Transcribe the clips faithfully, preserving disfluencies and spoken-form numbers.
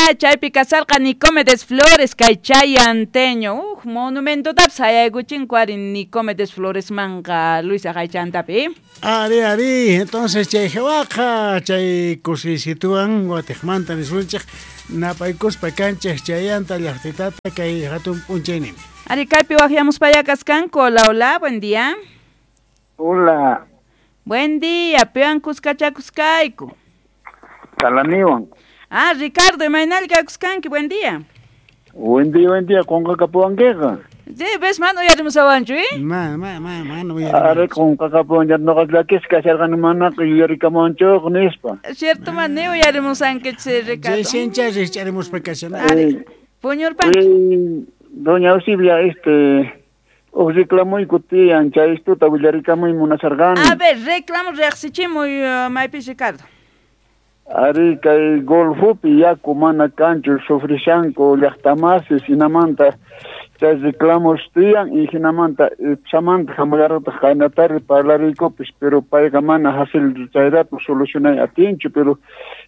Ah, chaypi kasarqa Nicomedes Flores kay chayanteño. Uj, monumentotapis hayaykuchinku ari Nicomedes Floresmanqa Luisa haychantapi. Ari, ari, entonces chay hawaqa chay kusisituwan watiqmanta nisunchik napaykuspa kanchik chayanta llaqtitata kay hatun p'unchaynimi. Ari, kaypi waqyamuspaya kaskanku. Hola, hola, buen día. Hola. Buen día, piwan kuskachakuskayku. Kalaniwan. Ah, Ricardo, imaynalla kakuskanki, buen día. Buen día, buen día, qunqakapuwankiqa. Sí, ves, mana uyarimusawanchu, eh? Ma, ma, ma, mana Ari, qunqakapuwan, noqa llakisqa kasharqani manaqa yuyarikamuwanchuqa nispa. Cierto, man, ni uyarimusankichis, Ricardo. Recién rikch'arimuspa kashan. Ari, puñurpanki. Doña Eusibia, este, huk reclamuyku tiyan, chay istuta willarikamuy munasharqani. A ver, reclamo riqsichimuy, maypis, Ricardo. Ari, kay Golfopi yaku mana kanchu sufrishanku llaqtamasis hinamanta chay reclamos tiyan y hinamanta ipsamanta hamullarqataq qaynatari parlariykupis, pero payqa mana hasil chayrato solucionay atinchu, pero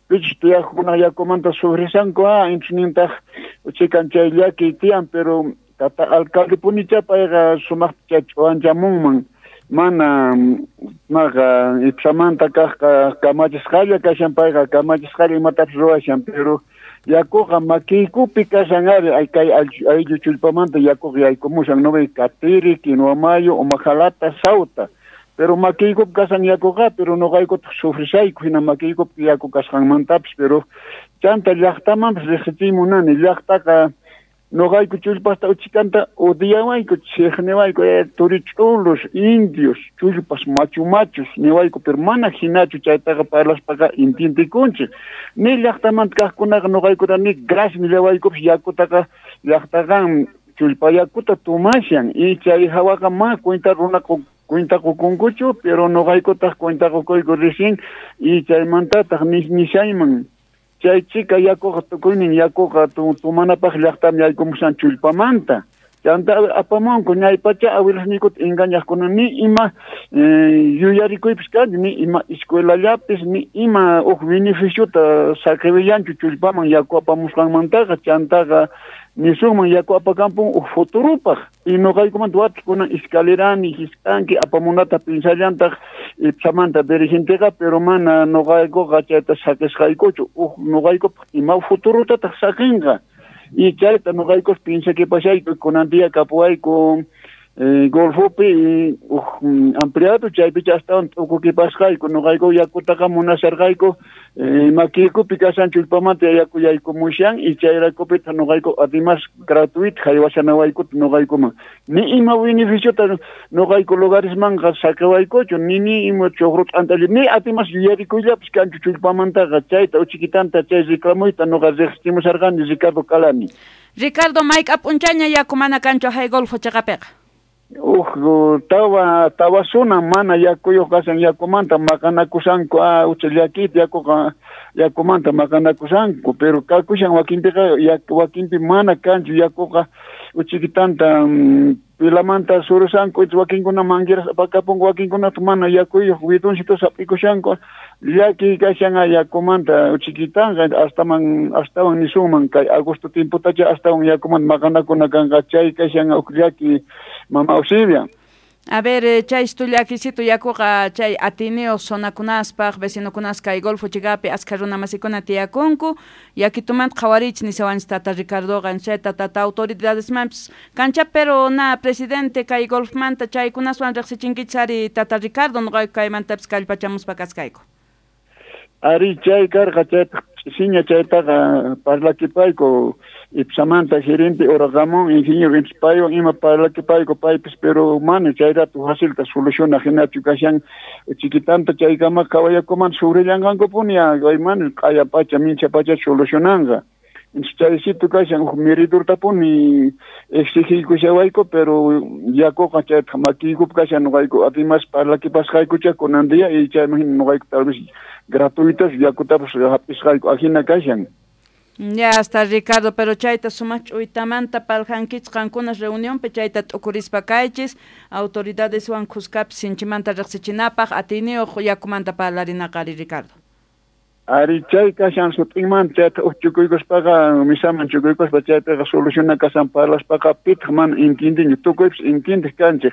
pichus tiyaqkuna yakumanta sufrishanku, ah, inchunintaq chikan chay llaki tiyan, pero tata alcalde punicha payqa sumaqta ch'uwanchamunman. Mana maqa ipsamanta kaqqa kamachisqalla kashan payqa kamachisqalla imatapis ruwashan, pero yakuqa makiykupi kashan ari kay ayllu chullpamanta yakuqa yaykumushan no ve Katiri, Quinoamayo, Umajalata, Sauta, pero makiykupi kashan yakuqa, pero noqaykutaq sufrishayku hina makiykupi yaku kasqanmantapis, pero chanta llaqtamanpis riqsichiy munani, llaqtaqa noqayku chullpasta uchikanta odiawayku, chiqniwayku, eh, turich'ulos, indios, chullpas machu machus niwayku, pero mana hinachu chaytaqa parlaspaqa intintikunchik. Ni llaqtamanta kaqkunaqa noqaykuta ni gracias nillawaykupis yakutaqa llaqtaqan chullpa yakuta tumashan, y chay hawaqa ma cuenta runaqa cuenta qukunkuchu, pero noqaykutaq cuenta qukuyku recién, y chaymantataq nishayman. Chay chica yakuqa tukuynin yakuqa tumanapaq llaqtam yaykumushan chullpamanta. Chanta apamunku ñaypacha awilasniykuta engañaqkuna ni ima yuyarikuypis kanchu, ni ima escuelallapis, ni ima huk beneficiota saqirillanchu chullpaman yaku apamusqanmantaqa. Chantaqa nisunman yaku apakampun huk futurupaq. Y noqaykumanta watikuna escalerani, hisk'anki apamunata pinsallantaq ipsamanta dirigenteqa, pero mana noqaykuqa chayta saqisqaykuchu, huk noqaykupaq ima futurutataq saqinqa. Y chayta noqaykus pinsakipashayku kunan día kapuwayku eh, Golfopi huk ampliado chaypicha astawan t'ukukipasqayku noqayku yakutaqa munasharqayku eh, makiykupi kashan chullpamanta yaku yaykumushan y chayraykupitaq noqayku además gratuito haywashanawaykuta noqaykuman ni ima beneficiota noqayku lugaresmanqa saqiwaykuchu ni ni ima chuqru t'antalla ni además yuyarikuyllapis kanchu chullpamantaqa chayta uchikitanta chay reclamuyta noqa riqsichimusharqani Ricardo Calani. Ricardo, mayk'a p'unchayña yaku mana kanchu hay Golfo chiqapiqa? Uj, tawa tawasuna mana yakuyuq kashan yakumanta maqanakusanku, ah, ucha llakita yakuqa yakumanta maqanakusanku, pero kakushan wakinpiqa wakinpi mana kanchu yakuqa uchikitanta pilamanta surusanku, wakinkuna mangueras apakapunku, wakinkunata mana yakuyuq bidoncitos hap'ikushanku, llaki kashan yakumanta uchikitanqa astaman astawan nisunman kay agosto tiempotacha astawan yakumanta maqanakuna kanqa chay kashan uj llaki mama Eusibia. A ver, chay llakisito yakuqa chay atineo zonakunaspaq vecinokunas kay Golfo chiqapi askha runa masikuna tiyakunku yakitumanta qhawarich nisawanchis tata Ricardoqa chayta tata autoridadesmanpis kancha, pero na presidente kay Golfmanta chaykunaswan riqsichinkichis ari tata Ricardo noqayku kaymantapis kallpachamuspa kaskayku. Ari chay karqa chaytaq ch'isiña chaytaqa parlakipayku ipsamanta gerente Ramón ingeniero paywan ima parlakipayku paypis, pero mana chay rato facilta soluciona hinachu kashan chiquitanta chaykama qhawayakuman sufrillanqankupuni mana q'aya pacha mincha pacha solucionanqa. Chaysito kashan huk meridortapuni exigiykushawayku, pero yakuqa chayta makiykupi kashan noqayku además parlakipasqaykucha kunan día y chayman hina noqayku tal vez gratuitas yakutapas hap'isqayku ajina kashan. Ya está Ricardo, pero chayta sumaq ch'uytamanta paljankichis qankunas reunionpi chayta t'ukurispa kaychis autoridadeswan khuskapis sinchimanta riqsichinapaq atiniyuq yakumanta parlarinaqa ari Ricardo. Ari chay kashan sut'inman chayta uj chukuykuspaqa misaman chukuykuspa chaypiqa soluciona kashan parlaspaqa pitaq mana entiendenchu tukuypis entiendeq kanchik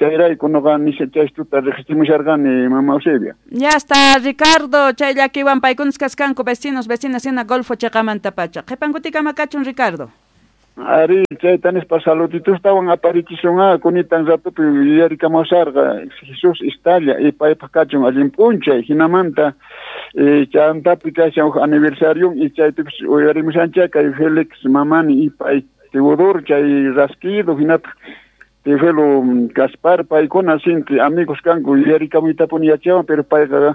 chayrayku nuqa nisha chaystuta riqsichimusharqani mama Eusebia. Ya está Ricardo, chay llakiwan paykunas kaskanku vecinos, vecinas hina Golfo chiqamantapacha. Qhipankutikama kachun Ricardo. Ari chayta nispa saluditostawan aparichisunqa kunitan ratupi yuyarikamusarqa Jesús Istalla y paypaq kachun allin p'unchay hinamanta chantapi kashan huk aniversario y chaypipis uyarimushanchik kay Félix Mamani y pay Teodoro chay rasquido hinataq Teofelo Gaspar paykuna sinti amigos kanku yuyarikamuytapuni yachawan pero payqa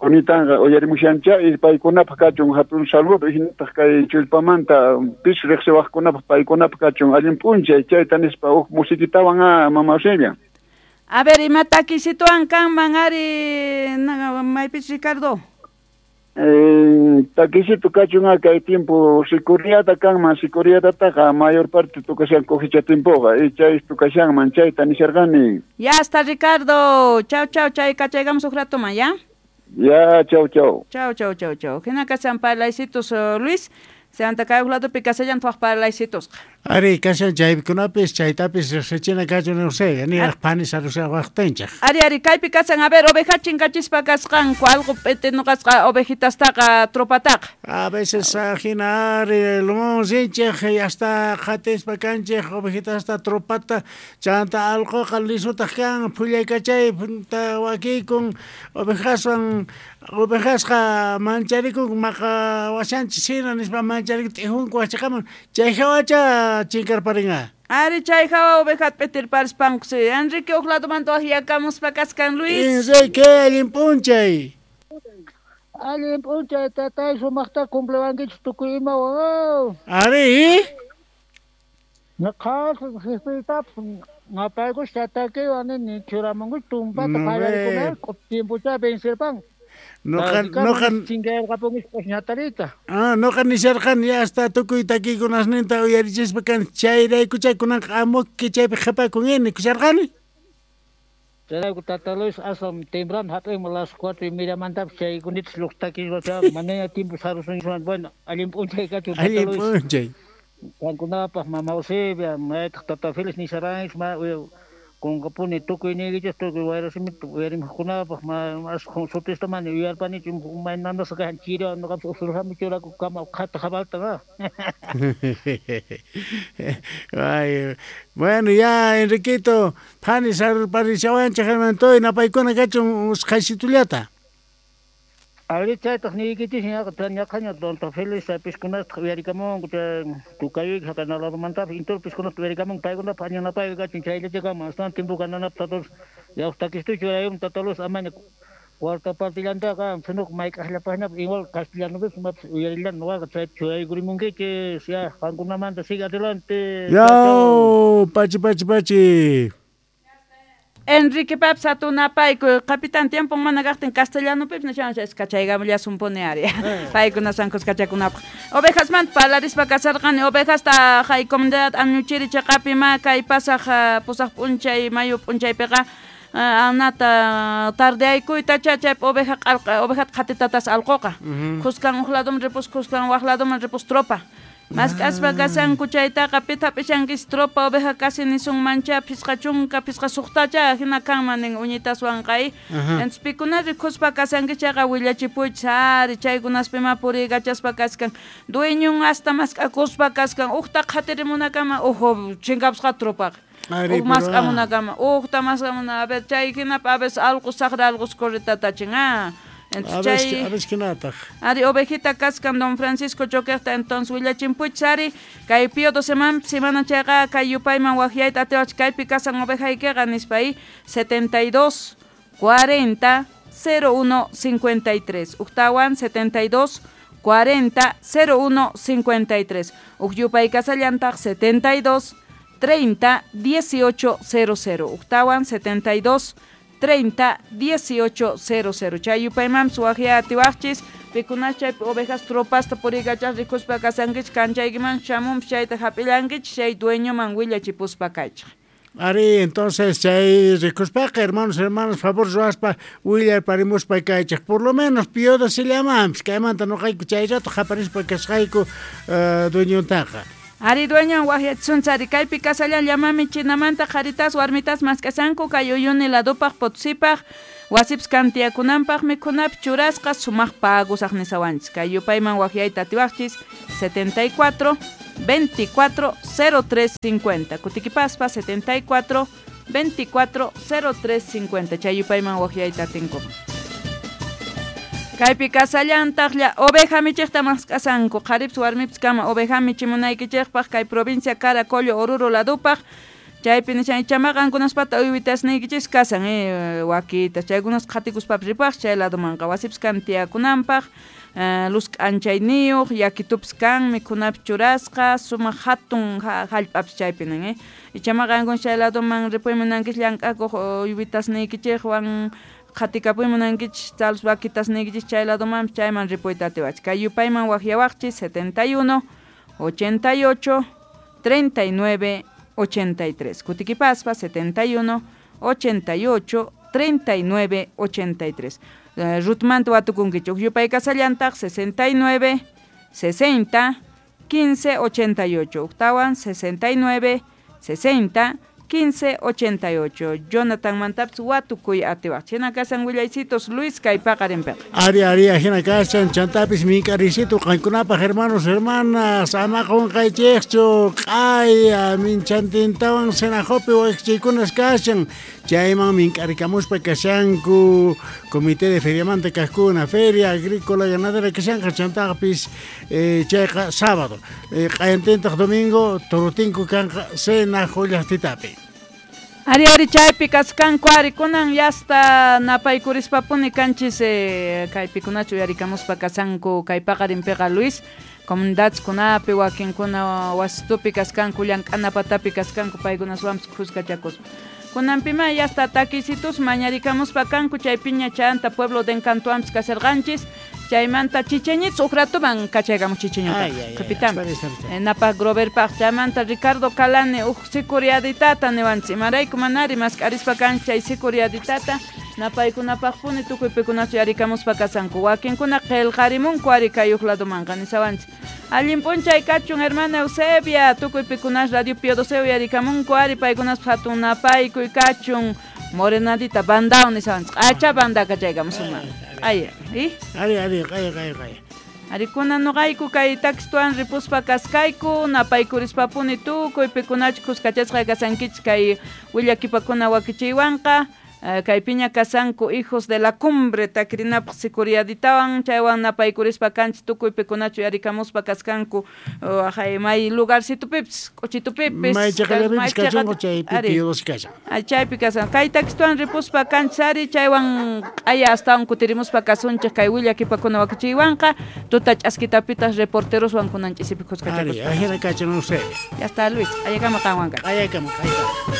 kunitanqa uyarimushanchik y paykunapaq kachun hatun saludo hinataq kay chullpamanta pis riqsiwaqkunapaq paykunapaq kachun allin p'unchay chayta nispa huk musiquitawan mama Eusebia. A ver, ima takisituan kanman ari maypis Ricardo. Eh, takisito kachun kay tiempo sicuriata kanman sicuriatataqa mayor parte tukashan cosecha tiempoqa y chay tukashanman chayta nisharqani. Ya está Ricardo, chau chau chay kachaygamos huk ratoman, ya? Ya, chau chau. Chau chau chau chau. Hina kashan parlaysitos Luis, Santa kay huk ladopi kasallan tuaq parlaysitos. Ari kashan chaykunapis chaytapis riqsichina kachun Eusebia, niraq phani sarushawaqtinchik. Ari ari kaypi kasan a ver oveja chinkachispa kasqanku alqu p'iti nuqasqa ovejitastaqa tropataqa. A veces hina ari lumón rinchik hasta qatispa kanchik ovejitasta tropata chanta alquqa lisutaq kan phullaykachay wakiykun ovejaswan ovejasqa mancharikun maqa washanchis hina nispa mancharikun t'ijunku wachiqaman chay hawacha chinkarparinqa. Ari chay hawa ovejata p'itirparispankusi. Enrique huk ladomanta waqyakamuspa kaskan Luis. Enrique allin p'unchay. Allin p'unchay tatay sumaqta cumplewankichik tukuy imawan. Ari. Ñuqaqa qispiytapas napaykus tatakiwan nini churamunkuch tumpata qallarikuna tiempocha vencerpan. Noqa noqa chinkayarqapunkichik ñatarita. Ah, noqa nisharqani hasta tukuy takikunasninta uyarichispa kan chayraykucha kunanqa amuki chaypi qhipakun nikusharqani. Chayrayku tata Luis aswan temprano hap'inman las cuatro y mediamantapas chaykunitas lluq takispa manaña tiempo sarusunchikman. Bueno, allin p'unchay kachun tata Allin Luis. p'unchay. Qankunapaq mama Eusebia, maytaq tata Félix nisharanchik ma kunqapuni tukuy niykichis tukuy wayrasimita uyarimuqkunapaq ma aswan sutista mana yuyarpanichu maynanasqa kashan chiriwan nuqapis usurqami churakukama qhata jabalta. Ay, bueno ya Enriquito phani sarparishawanchik hermantoy napaykuna kachun usqhaysitullata. Ari chaytaq niykichis ñaqa ñaqaña don Félix piskunastaq uyarikamunku chay tukayuyki haqanaladomantapas intur piskunasta uyarikamunku paykunapaq añanapayqa kachun chayllachakama astawan tiempo kananapaq tata Luis yawaq takistuchu churayum tata Luis amaña cuarta partillantaqa sino mayk'aqllapaqñapas igual castellanopis imapis uyarillan nuqaqa chayta churaykurimunkichis ya qankunamanta sigue adelante. Yaw, pachi pachi pachi. Enrique Paps atunapayku capitán tiempo mana kaqtin castellanopipis nishan kachaykamullasunpuni ari. Paykuna sankus kachakunapaq. Ovejasmanta parlarispa kasarqani ovejasta hay comunidad añuchiri chiqapi ma kay pasaq pusaq p'unchay mayu p'unchaypiqa anata tardeaykuyta chaypi oveja q'alqa ovejata qhatitatas alquqa. Khuskan huk ladoman ripus khuskan waq ladoman ripus tropa. Mask'aspa kasanku chaytaqa pitha p'ishankis tropa oveja kasi nisunmancha phisqa chunka phisqa suqtacha hina kanman nin uñitaswanqa y entonces pikuna rikuspa kasanki chayqa willachipuychis ari chaykunaspima puriykachaspa kaskan dueñon hasta mask'akuspa kaskan uqta qhatirimunakama uj chinkapusqa tropaqa. Uj mask'amunakama uqta mask'amuna a ver chay hinapa a veces alqus saqra alqus corritatachin ah. Entonces, a ver, kinataq. Ari ovejita kaskan don Francisco Choquerta entonces willachimpuchis ari kay pío doce semana chayqa kay yupayman waqyayta atiwach kaypi kasan ovejaykiqa nispa y setenta y dos cuarenta cero uno cincuenta y tres uqtawan setenta y dos cuarenta cero uno cincuenta y tres uq yupay kasallantaq setenta y dos treinta dieciocho cero cero uqtawan setenta y dos treinta dieciocho cero cero. Chay yupayman suwaqya atiwaqchis pikunas chaypi ovejas tropasta puriykachaq rikuspa kasankichik kanchaykiman shamunpis chayta hap'illankichik chay dueñoman willachipuspa kaychik. Ari, entonces chay rikuspaqa, hermanos, hermanos, favor ruwaspa willarparimuspa kaychej, por lo menos pioda se llamampis, kaymanta noqayku chay rato qaparispa kasqayku uh, dueñontaqa. Ari dueño wajyachunchari kaypi kasallan llamami chinamanta qharitas warmitas mask'asanku kay Uyuni ladupaq Potosipaq wasips kantiyakunanpaq mikhunapi churasqa sumaq pagusaq nisawanchis kay yupayman wajyayta atiwaqchis setenta y cuatro veinticuatro cero tres cincuenta kutikipaspa setenta y cuatro veinticuatro cero tres cincuenta chay yupayman wajyayta atinkuman. Kaypi kasallantaqlla oveja michiqta mask'asanku qharips warmips kama oveja michimunaykichikpaq kay provincia Caracollo Oruro ladupaq chaypi nishan ichamaqa qankunaspata uywitasniykichis kasan eh, wakitas chaykunas qhatikuspapis ripaq chay ladumanqa wasips kan tiyakunanpaq eh, luz k'anchayniyuq yakitupis kan mikhunapis churasqa sumaq hatun hallp'apis chaypi nin eh. Ichamaqa qankuna chay laduman ripuymunankichis llank'akuq uywitasniykichikwan qhatikapuy munankichis talus vaquitas niykichis chay ladumanpis chayman ripuyta atiwachis kay yupayman wajyawaqchis setenta y uno ochenta y ocho treinta y nueve ochenta y tres kutikipaspa setenta y uno ochenta y ocho treinta y nueve ochenta y tres eh, Rutmanta watukunkichik yupay kasallantaq sesenta y nueve sesenta quince ochenta y ocho uktawan sesenta y nueve sesenta quince ochenta y ocho Jonathan mantapis watukuy atiwaq china kasan willaycitos Luis kay paqarinpiqa. Ari ari ajina kasan chantapis mink'arisito qankunapaq hermanos hermanas ama qunqaychikchu q'aya minchantintawan Senajopi waqchaykunas kashan chayman mink'arikamuspa kashanku comité de feriamanta kajkuna feria agrícola ganadera kashanqa chantapis eh, chayqa sábado eh, q'ayantintaq domingo torotinku kanqa Senajo llaqtitapi. Ari ari chaypi kaskanku ari kunan yasta napaykurispa kanchis eh, kaypikunachu uyarikamuspa kasanku kay paqarinpiqa Luis comunidadkunapi wakinkuna wasitupi kaskanku llank'ana patapi kaskanku paykunaswanpis khuskachakuspa kunanpima yasta takisitus mañarikamuspa kanku chaypiña chanta pueblo de Encantoampis kasarqanchis chaymanta chicheñitz uqratuman kachaykamu chicheñuta qhipitam napaq Groverpaq chaymanta Ricardo Calane uq sicuriaditata niwanchis imarayku manari mask'arispa kanchis chay sicuriaditata napaykunapaqpuni tukuy pikunachu yarikamuspa kasanku wakinkuna qillqarimunku ari kay uq ladumanqa nisawanchis allin p'unchay kachun hermana Eusebia tukuy pikunas Radio Pío doce uyarikamunku ari paykunaspa hatun napaykuy kachun morenadita bandao nisawanchis q'acha banda kachaykamusunman ay i ari ari q'aya q'aya q'aya ari kunan noqayku kay takistuan ripuspa kaskayku napaykurispa-puni tukuy pikunachu khuskachasqa kasankichis kay willakipakuna wakichiywanqa kay piña kasanku hijos de la cumbre takirinapaq sicuriaditawan chaywan napaykurispa kanchis tukuy pikunachu yarikamuspa kaskanku uh, may lugarcitupipis k'uchitupipis may chaqallapipis kachunku chaypi Pío doce kashan chaypi kasan kay takistuan ripuspa kanchis ari chaywan q'aya astawan kutirimuspa kasunchik kay willakipakuna wakichiywanqa tuta ch'askitapitas reporteroswan kunan ch'isipi khuskachakuspa ari ajina kachan Eusebia ya está Luis q'ayakama qanwan q'ayakama q'ayakama.